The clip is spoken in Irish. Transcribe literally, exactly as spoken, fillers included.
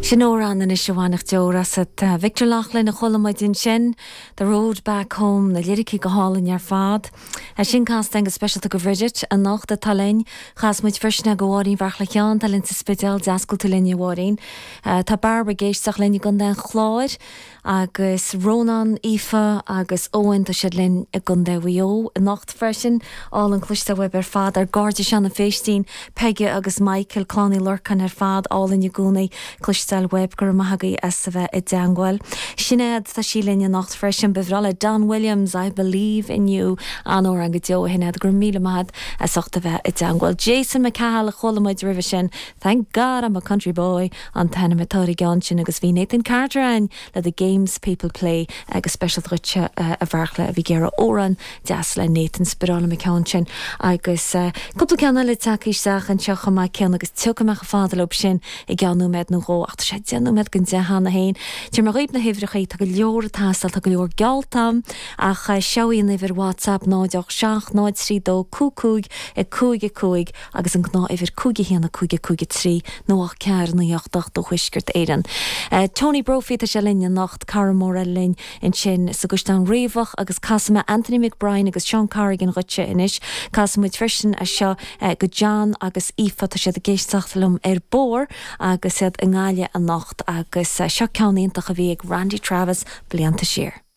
Sin amhrán anois a bhainfeadh deor asat. Victor Loughlin a chuala muid ansin, The Road Back Home na liricí go hálainn ar fad. Sin casta go speisialta do Bhridget anocht atá linn chas muid freisin go Mháirín Bheartla Sheáin tá linn sa Spidéal deascail linn Mháirín. Tá Barbara ag éisteacht linn i gContae an Chláir agus Rónán Aoife agus Owen tá siad linn i gContae Mhaigh Eo anocht freisin álainn cloisteáil uaibh ar fad ár gcairde Seán Féistín, Peige agus Michael Clann Uí Lorcáin ar fad álainn i gcónaí cloisteáil uaibh go raibh maith agaibh as a bheith i dteagmháil. Sinéad tá sí linn anocht freisin ba bhreá le Don Williams, I believe in you an-amhrán go deo Shinéad go raibh míle maith as ucht a bheith i dteagmháil. Jason McCahill a chuala muid roimhe sin, Thank God I'm a country boy an t-ainm atá ar an gceann sin agus bhí Nathan Carter ann le the Games People Play agus speisialta dhuitse a Bheartla a bhí ag iarraidh amhrán deas le Nathan Spioráil ceann sin agus cúpla ceann eile tagtha isteach anseo chomh maith céanna agus tiocfaidh mé chomh fada leo sin i gceann nóiméad nó dhó ach tá sé deich nóiméad don deich cheana féin. Tabharfaidh mé dhaoibh na huimhreacha tá go leor ag teastáil tá go leor geallta ach seo í an uimhir WhatsApp náid seacht náid trí dó cúig cúig a cúig a cúig agus an ghnáthuimhir cúig a haon a cúig a cúig a trí nó a ceathair naoi ocht ocht do Thuaisceart Éireann. Tony Brophy tá sé linn anocht cara mór linn ansin sa gCaisleán Riabhach agus casfaidh mé Anthony McBride agus Sean Corrigan dhuitse anois casfaidh muid freisin é seo go John agus Aoife tá siad ag éisteacht liom ar bord agus iad i nGaillimh anocht agus seo ceann iontach a bhí ag Randy Travis blianta siar.